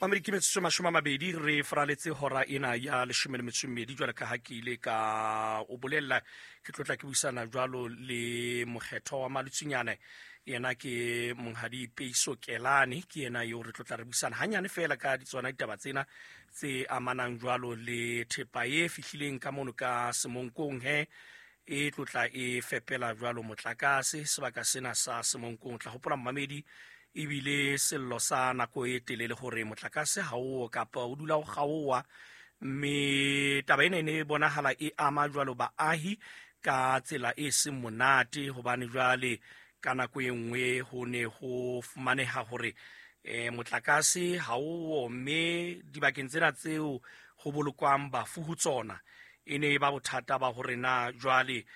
Mamedi, ke metsotso 20 re faraletse hora ena ya 12 jwale ka ha ke ile ka o bolella, ke tlotla ke buisana jwalo le mokgethwa wa Maletsunyane. Yena ke Monghadi Peiso Kelane, ke yena eo re tlotla re buisana hanyane fela ka tsona ditaba tsena tse amanang jwalo le thepa e fihlileng ka mono ka Semonkong, he e tlotla e fepela jwalo motlakase sebaka sena sa Semonkong. Tla hopola mmamedi, ebile sello sa nako e telele hore motlakase ha o kapa o dula o kgaowa, mme taba ena e ne e bonahala e ama jwalo baahi ka tsela e seng monate, hobane jwale ka nako e nngwe ho ne ho fumaneha hore motlakase ha o, mme dibakeng tsena tseo ho bolokwang bafu ho tsona e ne e ba bothata ba hore na jwale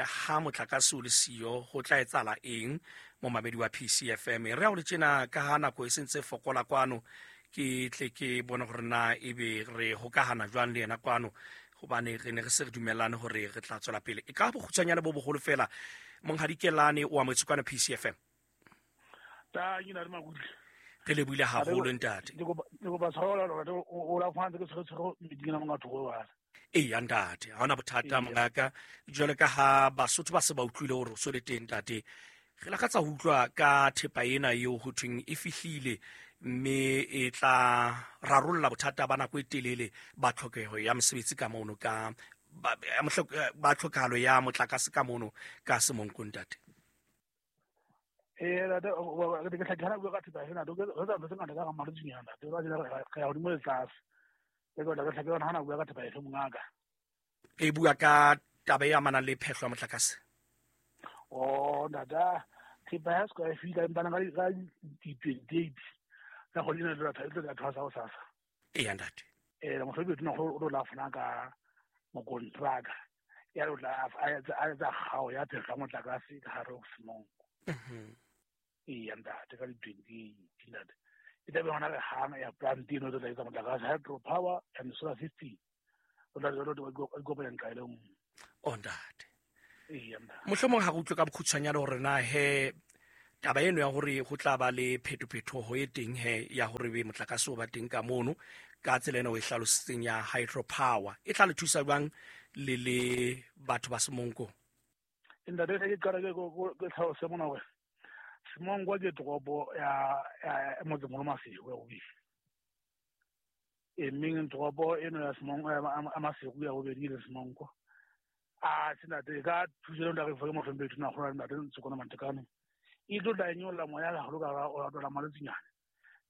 ha motlakase o le siyo ho tla etsahala eng. Momamedi wa PCFM, re a o le tjena ka ha nako e sentse fokola kwano, ke tle ke bone hore na ebe re hokahana jwang le yena kwano, hobane re ne re se re dumellane hore re tla tswela pele. E ka bokgutshwanyane bo boholo fela, Monghadi Kelane o amohetse kwano PCFM. Ta ke na le makutle. Re lebohile haholo ntate. Ke kopa tshwarelo hore o la fana ke tshwere tshwere meeting ena monga thoko wa. Eya ntate, ha hona bothata mongaka. Jwale ka ha Basotho ba se ba utlwile hore o so le teng ntate, re lakatsa ho utlwa ka thepa ena eo ho thweng e fihlile mme e tla rarolla bothata ba nako e telele ba tlhokeho ya mosebetsi ka mono ka ba tlhokahalo ya motlakase ka mono ka Semonkong ntate. Ee, ntate, ke tla bua ka thepa ena, re tsa ntho tse ngata ka ga Maletsunyana, ntate, re ya godimo le tlase. Ke tla ke tlhake hana bua ka thepa efe mongaka. E bua ka taba e amanang le phehlo ya motlakase. Oh, ntate, thepa ya square feet empa ka di 28 ka kgwedi ena e tlo tla thwasa hosasa. Eya ntate. Mohlomong tona o tlo la fana ka mokontraka ya lo tla a etsa kgao ya phehlo ya motlakase ka hare ho Semonko. Eya ntate, ka di 28 ntate. E tla be hona re hana ya plant eno e tlo tla etsa motlakase, hydro power and solar system. O tla ikopanya nqa e le nngwe. O ntate. Eya ntate. Mohlomong ha re utlwe ka bokgutshwanyane hore na he taba eno ya hore ho tla ba le phetophetoho e teng he ya hore be motlakase o ba teng ka mono ka tsela ena o e hlalositseng ya hydro power e tla le thusa jwang le le batho ba Semonkong? Ntate, ke qala ke tlhalose mona hore Semonko ke toropo ya motsemolo Maseru ya bobedi. E meng toropo eno ya Semonko ya Maseru ya bobedi le Semonko. A se ntate ka thuso eo ntate ke mohlomphehi tona kgolo ntate Ntshokwana Mantekane. E tlo tla nyolla moya haholo ka o tlola Maletsunyane.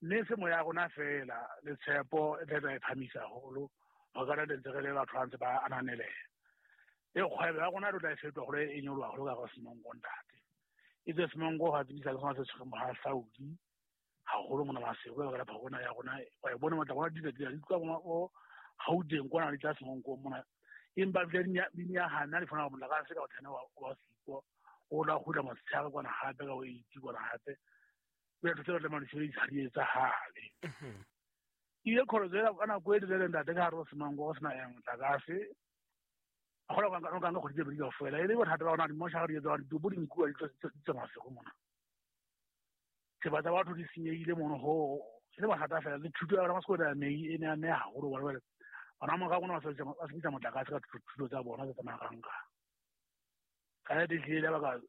Mme se moya rona fela le tshepo e tla e phamisa haholo ho ka ntse re le batho ba ntse ba ananeleha. E kgwebo ya rona e tlo tla e fetoha hore e nyoloha haholo ka hara Semonko ntate. E tse Semonko ga tsebisa le sona se tshwereng bohahlaudi haholo mona Maseru ka baka la phakona ya rona. Wa e bona matla rona di di tloha mo Gauteng kwana di tla Semonko mona. Empa ebile di nyahana di fana motlakase ka o thene wa siko o la kgutla motshehare kwana hape ka o eight kwana hape. O ya ntho tse ba tlamehang di sebedisa ha di etsahale. Ile kholo tsela ka nako e telele ntate ka hare ho Semonko go sena ya motlakase. A kgona go ka kgwedi tse pedi kaofela. E le bothata ba rona di-moshara di etsa ditopo di nkuwa di tse Maseru mona. Thepa tsa batho di senyehile mono ho e le bothata fela. Le thuto ya bana ba sekolo ya mei e ne ya meha haholo hobane jwale bana ba morao rona ba sebedisa motlakase ka thuto tsa bona tse tsamayang ka. Ka nnete ehlile ya baka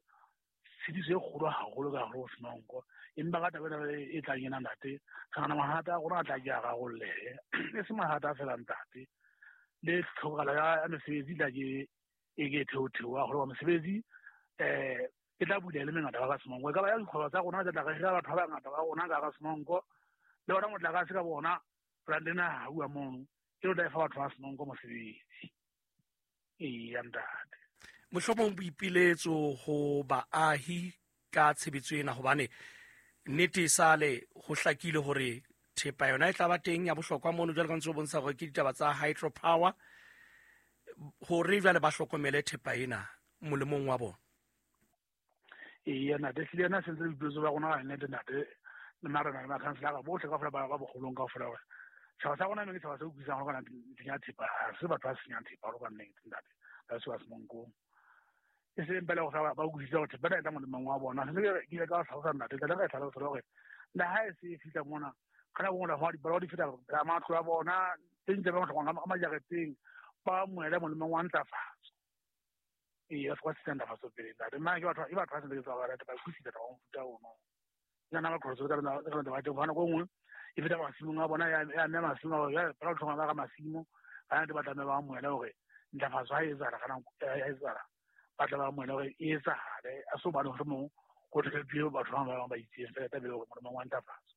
tshediso e kgolo haholo ka hare ho Semonko. Empa ka taba ena e tlang ena ntate, re nahana mathata a rona a tla ke a rarollehe. E se mathata a fela ntate. Le tlhokahalo ya mesebetsi tla ke e ke theotheoha haholo mesebetsi e tla bula e le mengata ka hara Semonko. E ka ba ya dikgwebo tsa rona tse tla re hira batho ba bangata ba rona ka hara Semonko. Le ona motlakase ka bona plant ena ha hauwa mono e tlo tla e fa batho ba Semonko mosebetsi. Eya ntate. Mohlomong boipiletso ho baahi ka tshebetso ena, hobane nnete e sale ho hlakile hore thepa yona e tla ba teng ya bohlokwa mono, jwale ka ntse o bontsha hore ke ditaba tsa hydro power, hore jwale ba hlokomele thepa ena molemong wa bona. Eya ntate, ehlile ena sentse boipiletso ba rona ba nnete ntate, le marena le makhanselara bohle kaofela ba bogolong kaofela hore setjhaba sa rona ke setjhaba se utlwisang hore kana ntlheng ya thepa ha se batho ba senyang thepa hore ka nnete ntate, ba se ba Semonkong. E seng pele gore ba utlwisise gore thepa ena e tla molemong wa bona. Se ke ile ka hlalosa ntate, tla ka e hlalosa hore le ha e se e fihla mona Ka nako nngwe ho dipalangwa di feta pela matlo a bona, tse ding tse ba tlhokang ka majareteng, ba amohele molemong wa ntlafatso. Ee, ba se ka ntlafatso pele ntate. Nna ke batho ke batho ba sentse ke tswa ba ba utlwisisa taba mofuta ono. Ke nna ba qholotso ka ka taba teng hobane nako e nngwe e feta masimong a bona ya ya mme masimo a bona ba tlhokang ba ka masimo ba nate ba tlameha ba amohele hore ntlafatso ha e etsahala ka nako e etsahala ba tla ba amohele hore e etsahale a se hobane mohlomong ho tlhophiwe batho ba bang ba itseng fela taba hore molemong wa ntlafatso.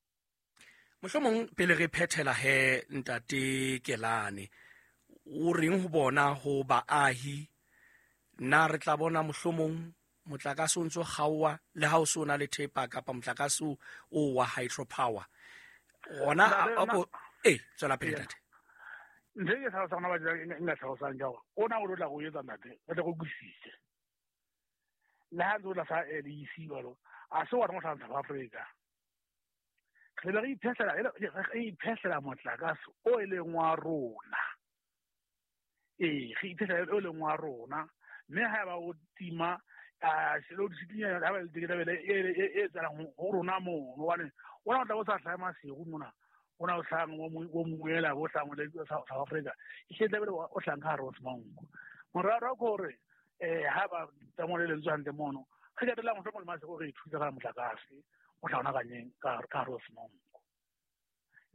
Mohlomong pele re phethela he ntate Kelane, o reng ho bona ho baahi? Na re tla bona mohlomong motlakase o ntso kgaowa le ha o se o na le thepa kapa motlakase o wa hydropower gona ee tswela pele ntate. Ntho e ke tlhalosang gona ba e nka tlhalosang ke gore o na o tlo tla go etsa ntate re tle go utlwisise le ha ntse o tla sa LEC jalo a se wa reng o tlhang South Africa re be re iphehlela re iphehlela motlakase o e leng wa rona. Ee, re iphehlela o leng wa rona mme ha eba o tima e etsahalang ho rona mono hobane ona o tla o sa hlahe Maseru mona ona o hlahang o moela o hlahang o South Africa e hle tlabe o hlahang ka hare ho Semanko. Morero ke hore ha ba tsamao le lentswe hantle mono re qetellang mohlomong le Maseru re ithusa ka motlakase o tla ona kanyeng ka hare ho Semanko.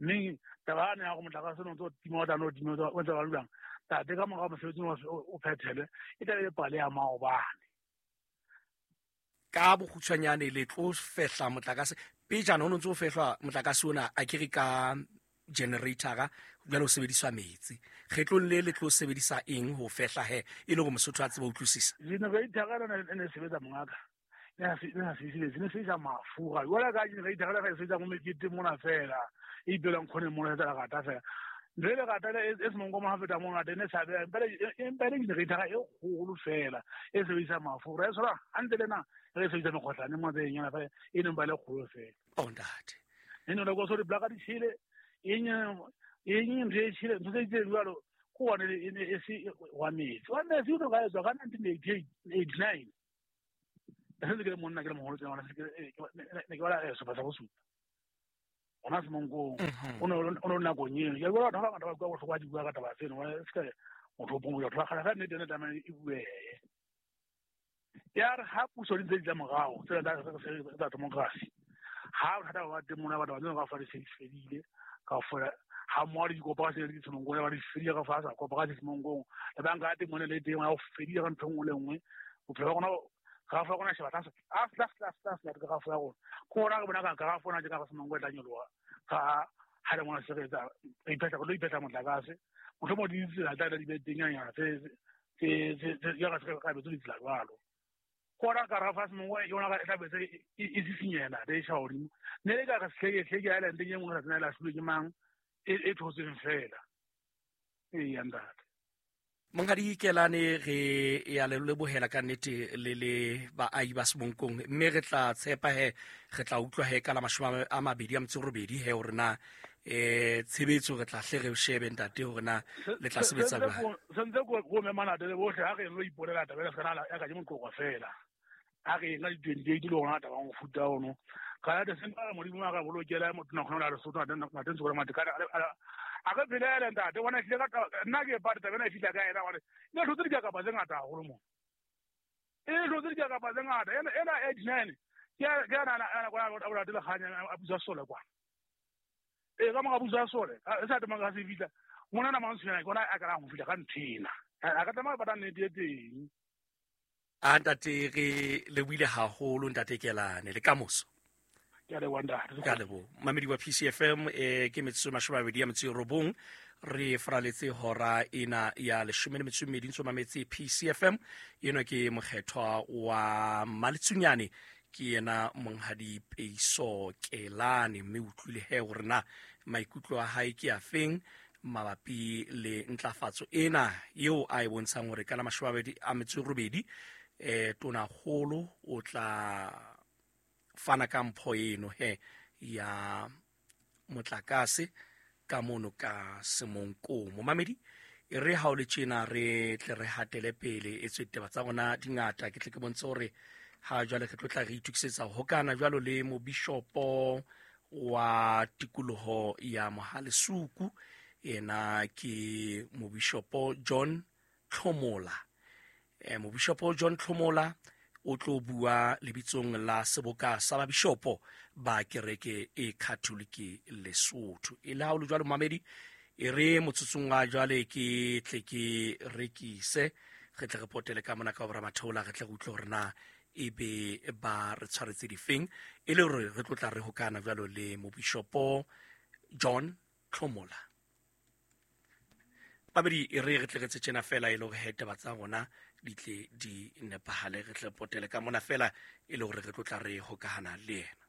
Mme taba yane ya gore motlakase o ntse o tima o tla no tima o ntse ba dulang tate ka mora mosebetsi o phethele e tlabe le pale ya maobane. Ka bokgutshwanyane le tlo fehla motlakase pejana o ntse o fehlwa motlakase ona a kere ka generatora jwale o sebediswa metsi kgetlong le le tlo sebedisa eng ho fehla he e le hore Mosotho a tsebe ho utlwisisa? Generator ena e ne sebetsa mongaka ne sa sebedise metsi ne sebedisa mafura jwale ka generator ena e sebetsa mo meketeng mona fela e ipelang kgoneng mona etsa lerata fela ntho e lerata e semonko mo ha feta mo ngata e ne sa beha empa e le generator e kgolo fela e sebedisa mafura e tshwana hantle le na re e sebedisa mekgotlane mo tse nyana fela e neng ba le kgolo fela. Oh ntate e ne le go so di blaka di tshele eng eng ntho e tshele ntho tse itseng jwalo ko one e ne e se wa metsi wa metsi o ne ka etswa ka 1989 e sentse ke le monna ke le moholo tsena ne ke bala sehlopha sa bosupa gona Semonkong o ne o nakong eno ke bona batho ba bangata ba bua bohloko ba di bua ka taba tseno se ka motho o pongo batho ba kgale fa nnete ene tlamehile e buehe ya re ha puso di ntse di tla morago tsela tsa democracy ha bothata ba teng mona batho ba tsena ka fa di se di fedile ka fela ha mmoho le dikoporasi le di Semonkong ba di fedile ka fa sa koporasi Semonkong le banka ya teng mone le teng ya go fedile ka ntho e nngwe le nngwe bophelo ba rona grafo ya rona sheba tlase tlase tlase tlase tlase tlase grafo ya rona ke gona re bona ka grafo ona tje ka Semonko e tla nyoloha ka ha le mona se re etsa re iphetla re tlo iphetla motlakase mohlomong di ditsela tla di be teng nyana tse tse tse ya ka se ka betso ditsela jwalo ke gona grafo ya Semonko e yona e tla betse e sisinyela le e sha godimo ne le ka re Hleke Island e nngwe sa tsena e lahlilwe ke mang e thotseng fela ee ya ntate. Monghadi Kelane re ya le lebohela ka nnete le le baahi ba Semonkong mme re tla tshepa he re tla utlwa he ka la 28 he hore na tshebetso re tla hle re shebe ntate hore na le tla sebetsa jwang. Sentse ko memana le bohle ha re lo iponela taba ena se ya ka ke moqoqo fela ha re nka di-28 le hona taba mofuta ono ka ya se mpa Modimo a ka bolokela motho na khona Lesotho ntate ntse gore Matekane a re phelele ntate bona tlile ka nna ke pata taba ena e fihla ka ena hore ne tlotse dikakapa tse ngata haholo mo e tlotse dikakapa tse ngata ena ena 89 ke ke ana ana kwa a bola le kganya a busa sole kwa e ka mo busa sole e sa tsamaya ka se fihla mona na mantshwana ke ona a ka go fihla ka nthena a ka tsamaya ba nnete e teng. A ntate re lebohile haholo ntate Kelane le kamoso. Ke a leboha ntate. Ke a leboha. Mamedi wa PCFM ke metsotso 29 re faraletse hora ena ya 12 ntse mametse PCFM eno ke mokgethwa wa Maletsunyane ke yena monghadi Peiso Kelane mme utlwile he hore na maikutlo a hae ke a feng mabapi le ntlafatso ena eo a e bontshang hore ka la 28 tonakgolo o tla fana ka mpho eno he ya motlakase ka mono ka Semonkong. Momamedi e re ha o le tjena re tle re hatele pele e tswe ditaba tsa rona di ngata ke tle ke bontshe hore ha jwale re tlo tla re itokisetsa ho hokana jwalo le mobishopo wa tikoloho ya Mohalesuku, yena ke Mobishopo John Tlhomola. Mobishopo John Tlhomola o tlo bua lebitsong la seboka sa babishopo ba kereke e Catholic Lesotho. E le ha o le jwalo mamedi, e re motsotsong wa jwale ke tle ke rekise, re tle re potele ka mona ka bora matheola, re tle re utlwe hore na e be ba re tshwaretse difeng, e le hore re tlo tla re hokana jwalo le Mobishopo John Tlhomola. Babedi, e re re tle re tse tjena fela e le hore he taba tsa rona di tle di nepahale, re tle potele ka mona fela e le hore re tlo tla re hokahana le yena.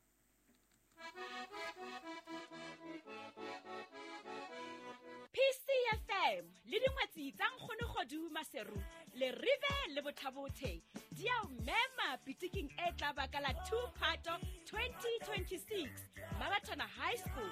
PCFM le dingwetsi tsa Nkgono Kgodu Maseru le Rive le Bothabothe di a o mema pitiking e tla baka la 2 Phato 2026 Mabathana High School.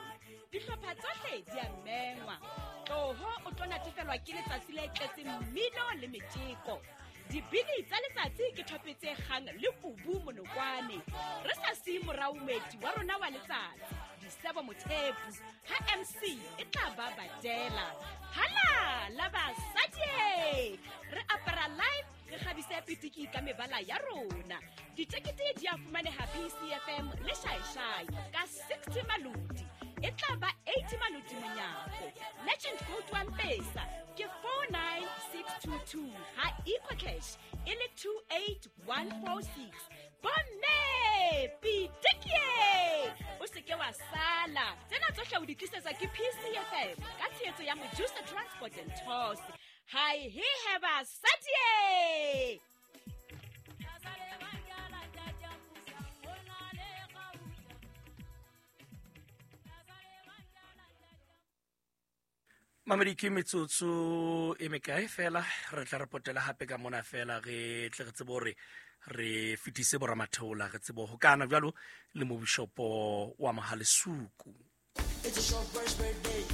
Dihlopha tsohle di a mengwa. Tloho o tlo natefelwa ke letsatsi le tletseng mmino le metjeko. Dibini tsa letsatsi ke thope tse kgang le kubu monokwane. Re sa siye morao moeti wa rona wa letsatsi, Disebo Mothepu, ha MC e tla ba badela. Hala la basadi! Re apara live, re kgabise pitiki ka mebala ya rona. Ditekete di a fumaneha PCFM le Shaeshai ka 60 maloti. E tla ba 80 maloti monyako. Legend code wa Mpesa ke 49622, ha EcoCash e le 28146. Bomme, pitikie! O se ke wa sala. Tsena tsohle o di tlisetswa ke PCFM ka tshehetso ya Mojusa Transport and Tours. Hai he he basadi! Mamedi, ke metsotso e mekae fela re tla re potela hape ka mona fela, re tle re tsebe hore re fetise boramatheola, re tsebe ho kana jwalo le mobishopo wa Mohalesuku. It's a Shoprite birthday,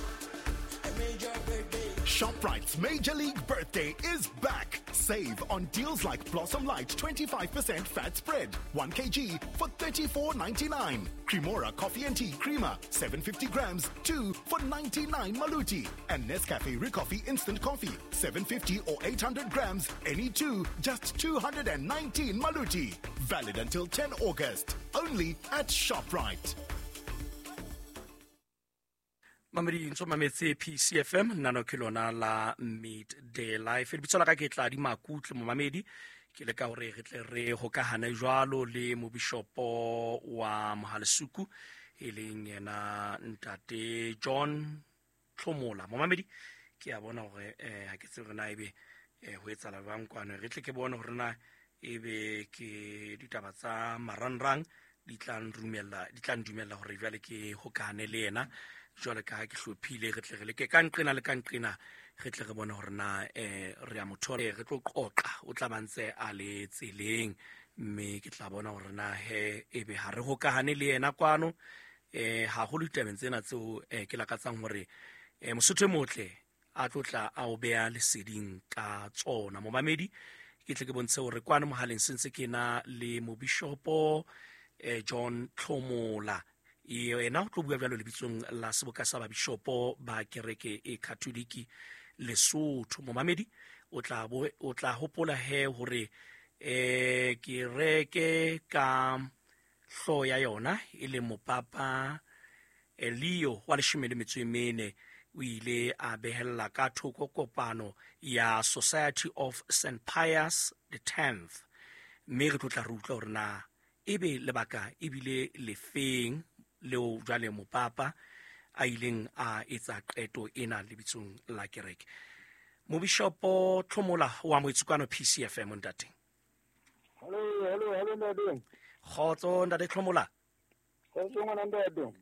a major birthday. Shoprite's Major League Birthday is back. Save on deals like Blossom Light 25% fat spread, 1 kg for 34.99. Cremora Coffee and Tea Creamer, 750 grams, 2 for 99 Maluti. And Nescafe Ricoffee Instant Coffee, 750 or 800 grams, any 2, just 219 Maluti. Valid until 10 August. Only at Shoprite. Mamedi, ntso mametse PCFM, nano ke lona la Midday Life. Lebitso la ka ke Tladi Makutle, momamedi. Ke le ka hore re tle re hokahane jwalo le mobishopo wa Mohalesuku, e leng yena Ntate John Tlhomola. Momamedi, ke a bona hore ha ke tsebe hore na ebe ho etsahala jwang kwano. Re tle ke bone hore na ebe ke ditaba tsa marangrang di tla nrumella, di tla ndumella hore jwale ke hokahane le yena. Jwale ka ha ke hlophile, re tle re leke ka nqena le ka nqena, re tle re bone hore na re a mo thola, re tlo qoqa, o tla ba ntse a le tseleng, mme ke tla bona hore na he ebe ha re hokahane le yena kwano. Haholo ditabeng tsena tseo ke lakatsang hore Mosotho e motle a tlo tla a o beha leseding ka tsona. Momamedi, ke tle ke bontshe hore kwano mohaleng se ntse ke na le mobishopo John Tlhomola. Yena o tlo bua jwalo lebitsong la seboka sa babishopo ba kereke e Katoliki Lesotho. Momamedi, o tla hopola he hore kereke ka hlooho ya yona e leng mopapa Leo wa 14 o ile a behella ka thoko kopano ya Society of St Pius the 10th, mme re tlo tla re utlwa hore na ebe lebaka ebile lefeng leo jwale mopapa a ileng a etsa qeto ena lebitsong la kereke. Mobishopo Tlhomola wa Moetsukano PCFM, ntate. Hello, hello, hello, ntate. Kgotso, ntate Tlhomola. Kgotso, ngwana ntate.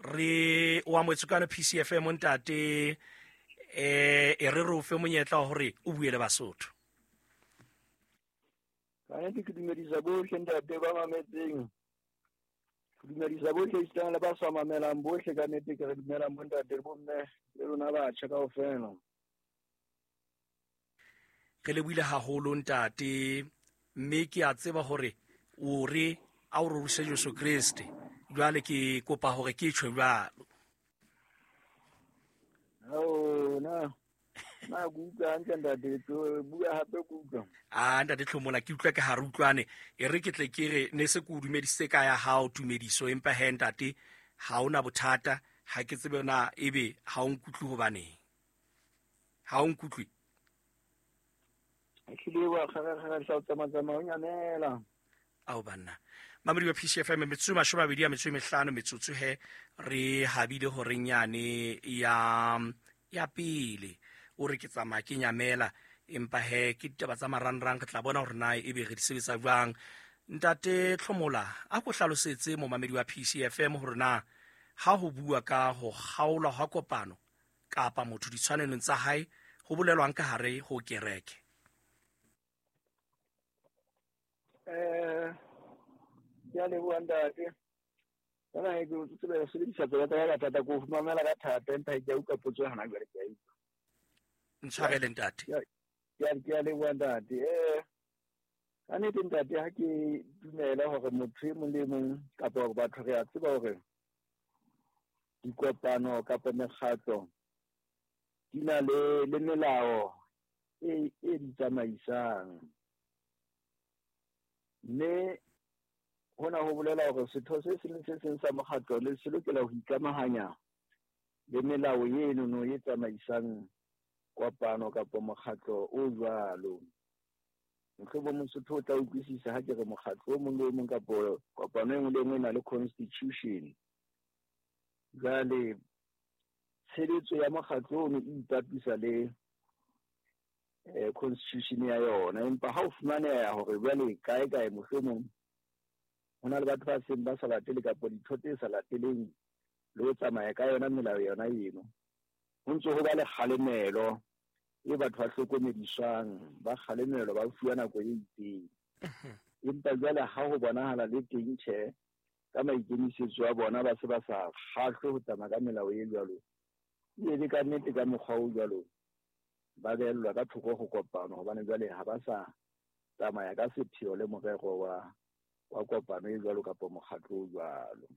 Re wa Moetsukano PCFM, ntate. E re re o fe monyetla wa hore o bue le Basotho. Ka nnete ke dumedisa bohle ntate ba mametseng. Ke dumedisa bohle esitang le ba sa mamelang bohle, ka nnete ke re dumelang bo ntate le bo mme le lona batjha kaofela. Re lebohile haholo ntate, mme ke a tseba hore o re a o rorise Jesu Kreste. Jwale ke kopa hore ke tjho jwalo. Ao na na ke utlwa hantle ntate, tlo bua hape ke utlwa. A ntate Tlhomola, ke utlwa ke ha re utlwane. E re ke tle ke re ne se ke o dumedisitse ka ya hao tumediso, empa he ntate ha ona bothata, ha ke tsebe na ebe ha o nkutlwe hobaneng. Ha o nkutlwe? Ehlile wa kgarakgara hla o tsamatsamaya o nyamela. Ao banna. Mamedi wa PCFM, metsotso 25 metsotso he re habile horeng yane ya pele. O re ke tsamaya ke nyamela, empa he ke ditaba tsa marangrang, re tla bona hore na ebe re di sebetsa jwang. Ntate Tlhomola, a ko hlalosetse momamedi wa PCFM hore na ha ho bua ka ho kgaolwa hwa kopano kapa motho ditshwanelong tsa hae ho bolelwang ka hare ho kereke. Ke a leboha ntate. Jwale ha ke tsebe ho sebedisa tsela tsa ka thata, ke o mamela ka thata, empa ke a utlwa potso hona jwale, ke a utlwa. Ntshwarele ntate. Ke a leboha ntate. Ka nnete ntate, ha ke dumela hore motho e mong le e mong kapa hore batho re a tseba hore dikopano kapa mekgatlo di na le melao e di tsamaisang. Mme hona ho bolela hore setho se seng le se seng sa mokgatlo le se lokela ho ikamahanya le melao eno e tsamaisang kopano kapa mokgatlo o jwalo. Mohlomong Mosotho o tla utlwisisa ha ke re mokgatlo o mong le o mong kapa kopano e nngwe le e nngwe e na le constitution. Jwale tshebetso ya mokgatlo ono e ipapisa le constitution ya yona, empa ha o fumaneha hore jwale kae kae mohlomong ho na le batho ba seng ba sa latele kapa ditho tse sa lateleng le ho tsamaya ka yona melao yona eno, ho ntse ho ba le kgalemelo e batho ba hlokomediswang, ba kgalemelwa, ba fuwa nako e itseng. Empa jwale ha ho bonahala le teng tjhe, ka maikemisetso a bona ba se ba sa kgahlwe ho tsamaya ka melao e jwalo, e le ka nnete ka mokgwa o jwalo ba behellwa ka thoko ho kopano, hobane jwale ha ba sa tsamaya ka sepheo le morero wa kopano e jwalo kapa mokgatlo o jwalo.